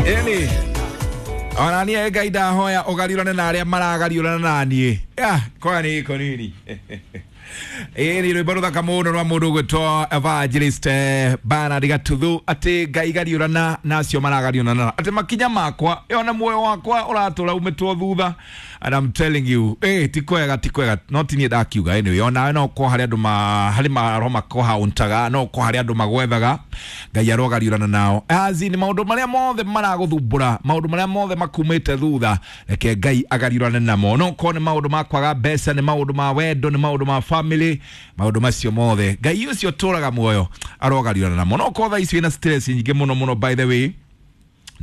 Ĩni ona niĩ Ngai ndahoya ũgariũrane na arĩa maragariũrana na niĩ. Kwa nĩ gĩko nini. Ĩni rwĩmbo rũthaka mũno rwa mũndũ ũgwĩtwo Evangelist Bernard Gatuthu, atĩ Ngai gariũrana na acio maragariũrana, atĩ makinya makwa ona muoyo wakwa ũratũra umĩtwo thutha. And I'm telling you, ti kwega, ti kwega. No ti niĩ ndakiuga. Anyway, onawe no ũkorwo harĩ andũ harĩ maroho makũhauntaga, no ũkorwo harĩ andũ magwethaga. Ngai arogariũrana nao. Azi nĩ maũndũ marĩa mothe maragũthumbũra, maũndũ marĩa mothe makumĩte thutha, reke Ngai agariũrane namo. No ũkorwo nĩ maũndũ ma kwaga mbeca, nĩ maũndũ ma wendo, nĩ maũndũ ma family, maũndũ macio mothe Ngai ũcio ũtũraga muoyo arogariũrana namo. No ũkorwo thaa ici wĩna stress nyingĩ mũno mũno, by the way,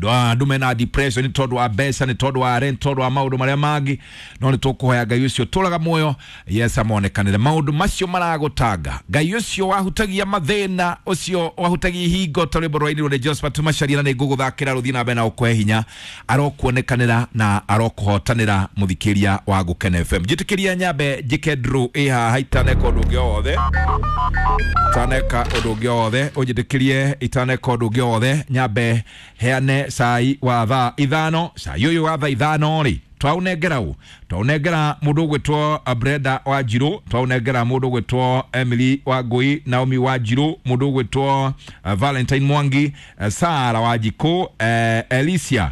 andũ mena depression nĩ tondũ wa mbeca, nĩ tondũ wa rent, tondũ wa maũndũ marĩa mangĩ, no nĩ tũkũhoya Ngai ũcio tũraga muoyo, yes, amonekanĩre maũndũ macio maragũtanga. Ngai ũcio wahutagia mathĩna, ũcio wahutagia ihingo, ta rwĩmbo rwainirwo nĩ Josephat Macharia, na nĩ ngũgũthakĩra rũthiĩ na mbere na ũkũhe hinya. Arokuonekanĩra na arokuhotanĩra, mũthikĩria wa Gũkena FM. Njĩtĩkĩria nyambe njĩke draw ĩ haha itaneka ũndũ ũngĩ o wothe, itaneka ũndũ ũngĩ o wothe, ũnjĩtĩkĩrie itaneka ũndũ ũngĩ o wothe, nyambe heane cai wa thaa 5. Cai ũyũ wa thaa 5 rĩ, twaũnengera ũ? Twaũnengera mũndũ ũgwĩtwo Brenda wa Njirũ, twaũnengera mũndũ ũgwĩtwo Emily wa Ngũi, Naomi wa Njirũ, mũndũ ũgwĩtwo Valentine Mwangi, Sara wa Njikũ, Elicia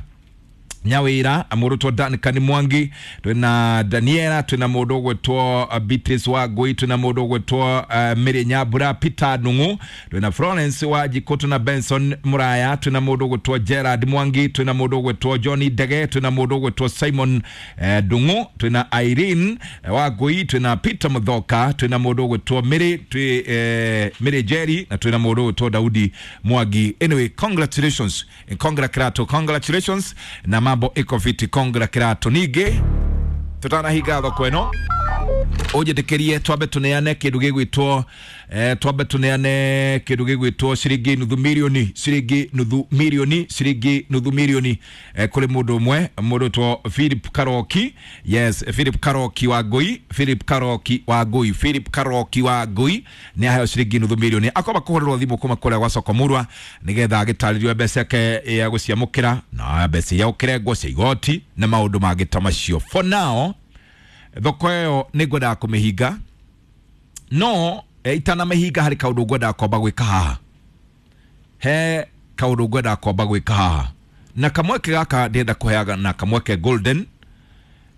Nyawira, mũndũ ũgwĩtwo Duncan Mwangi, twĩna Daniela, twĩna mũndũ ũgwĩtwo Beatrice wa Ngũi, twĩna mũndũ ũgwĩtwo Mary Nyambura, Peter Nung'u, twĩna Florence wa Njikũ, twĩna Benson Muraya, twĩna mũndũ ũgwĩtwo Gerard Mwangi, twĩna mũndũ ũgwĩtwo Johnny Ndege, twĩna mũndũ ũgwĩtwo Simon Ndung'u, twĩna Irene wa Ngũi, twĩna Peter Muthoka, twĩna mũndũ ũgwĩtwo Mary, twĩ Mary Jerry, na twĩna mũndũ ũgwĩtwo Daudi Mwangi. Anyway, congratulations, congratulations, congratulations, na mambo iko fiti, congratulations. Ningĩ tutanahinga thoko ĩno, ũnjĩtĩkĩrie twambe tũneane kĩndũ gĩgwĩtwo twambe tũneane kĩndũ gĩgwĩtwo ciringi nuthu mirioni, ciringi nuthu mirioni, ciringi nuthu mirioni kũrĩ mũndũ ũmwe, mũndũ ũtwo Philip Karoki. Yes, Philip Karoki wa Ngũi, Philip Karoki wa Ngũi, Philip Karoki wa Ngũi nĩ aheo ciringi nuthu mirioni. Akomba kũhũrĩrwo thimũ kuma kũrĩa gwa soko Murwa nĩgetha agĩtarĩrio mbeca yake ya gũciamũkĩra na mbeca iria gũkĩrengwo cia igoti na maũndũ mangĩ ta macio. For now, thoko ĩyo nĩ ngwendaga kũmĩhinga, no itanamĩhinga harĩ kaũndũ ngwendaga kwamba gwĩka haha. He kaũndũ ngwendaga kwamba gwĩka haha, na kamweke gaka ndĩrenda kũheaga na kamweke golden.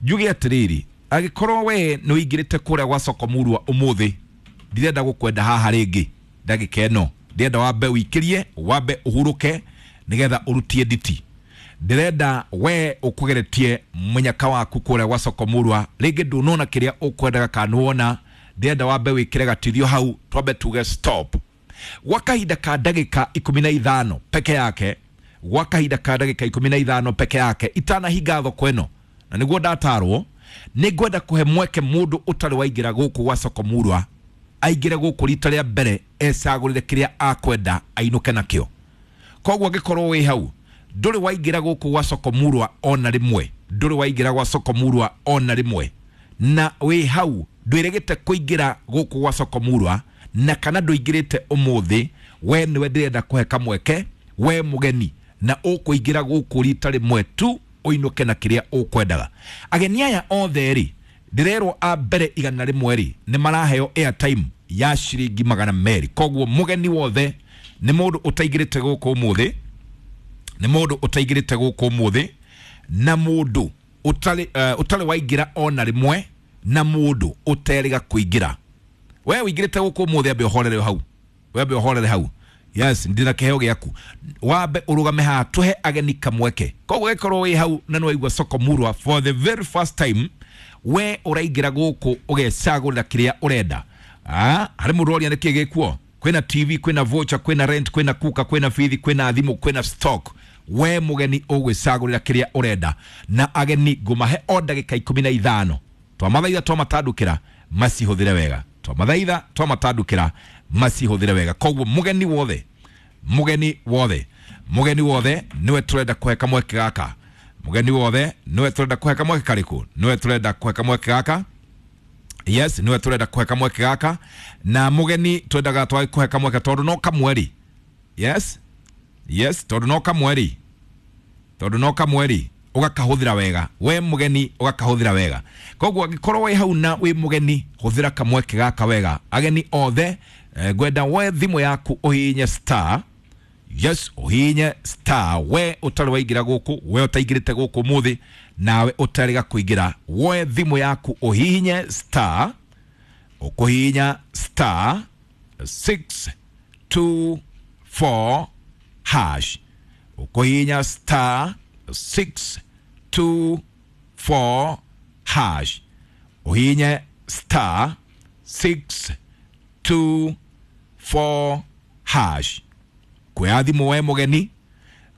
Njuge atĩrĩrĩ, angĩkorwo we nĩ ũingĩrĩte kũrĩa gwa soko Murwa ũmũthĩ, ndirenda gũkwenda haha rĩngĩ ndagĩka ĩno. Ndĩrenda wambe ũikĩrie, wambe ũhurũke nĩgetha ũrutie nditi. Ndĩrenda we ũkũgeretie mũnyaka waku kũrĩa gwa soko Murwa, rĩngĩ ndũnona kĩrĩa ũkwendaga kana nĩwona. Ndĩrenda wambe wĩkĩre gatithio hau, twambe tuge stop gwa kahinda ka ndagĩka 15 peke yake, gwa kahinda ka ndagĩka 15 peke yake, itanahinga thoko ĩno. Na nĩguo ndatarwo, nĩ ngwenda kũhe mweke mũndũ ũtarĩ waingĩra gũkũ gwa soko Murwa aingĩre gũkũ rita rĩa mbere, ecagũrĩre kĩrĩa akwenda, ainũke nakĩo. Koguo angĩkorwo wĩ hau ndũrĩ waingĩra gũkũ gwa soko Murwa ona rĩmwe, ndũrĩ waingĩra gwa soko Murwa ona rĩmwe, na wĩ hau ndwĩrĩgĩte kũingĩra gũkũ gwa soko Murwa, na kana ndũingĩrĩte ũmũthĩ, we nĩwe ndĩrenda kũhe kamweke, we mũgeni na ũkũingĩra gũkũ rita rĩmwe tu, ũinũke na kĩrĩa ũkwendaga. Ageni aya othe rĩ, ndĩrerwo a mbere 100 rĩ, nĩ maraheo airtime ya ciringi 200. Koguo mũgeni wothe nĩ mũndũ ũtaingĩrĩte gũkũ ũmũthĩ, nĩ mũndũ ũtaingĩrĩte gũkũ ũmũthĩ, na mũndũ ũtarĩ waingĩra ona rĩmwe, na mũndũ ũterĩga kũingĩra. We ũingĩrĩte gũkũ ũmũthĩ, ambe ũhorere hau, we ambe ũhorere hau. Yes, ndina kĩheo gĩaku, wambe ũrũgame haha tũhe ageni kamweke. Koguo gĩkorwo wĩ hau na nĩwaigua soko Murwa for the very first time, we ũraingĩra gũkũ ũgecagũrĩra kĩrĩa ũrenda. Harĩ mũndũ ũroria nĩkĩ gĩkuo. Kwĩna TV, kwĩna voucher, kwĩna rent, kwĩna kuka, kwĩna bithi, kwĩna thimũ, kwĩna stock. We mũgeni ũgwĩcagũrĩra kĩrĩa ũrenda, na ageni ngũmahe o ndagĩka 15. Twamathaitha twamatandũkĩra macihũthĩre wega, twamathaitha twamatandũkĩra macihũthĩre wega. Koguo mũgeni wothe, mũgeni wothe, mũgeni wothe nĩwe tũrenda kũhe kamweke gaka. Mũgeni wothe nĩwe tũrenda kũhe kamweke karĩkũ? Nĩwe tũrenda kũhe kamweke gaka. Yes, nĩwe tũrenda kũhe kamweke gaka, na mũgeni twendaga twage kũhe kamweke tondũ no kamwe rĩ. Yes, yes, tondũ no kamwe rĩ. Tondu no kamwe ugakahuthira wega we mugeni ugakahuthira wega. Koguo angikorwo wi hau na wi mugeni huthira kamweke gaka wega. Ageni othe ngwenda we thimu yaku uhihinye star, yes, uhihinye star. We utari waingira guku, we utaingirite guku muthi nawe utarega kuingira, we thimu yaku uhihinye star, ukuhihinya star 624 hash, ukuhihinya star 624 hash, uhihinye star 624 hash. Kuoya thimu we mugeni,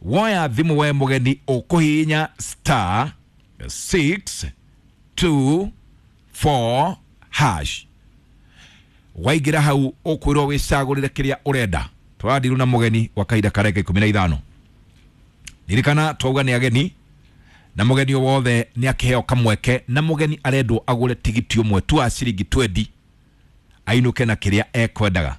woya thimu we mugeni ukuhihinya star 624 hash. Waingira hau ukwirwo wicagurire kiria urenda. Twarandiru na mugeni wa kahinda ka ndagĩka 15. Ririkana twauga nĩ ageni na mugeni wothe nĩ akĩheo kamweke, na mugeni arendwo agũre tigiti ũmwe tu wa ciringi 20 ainũke na kĩrĩa ekwendaga.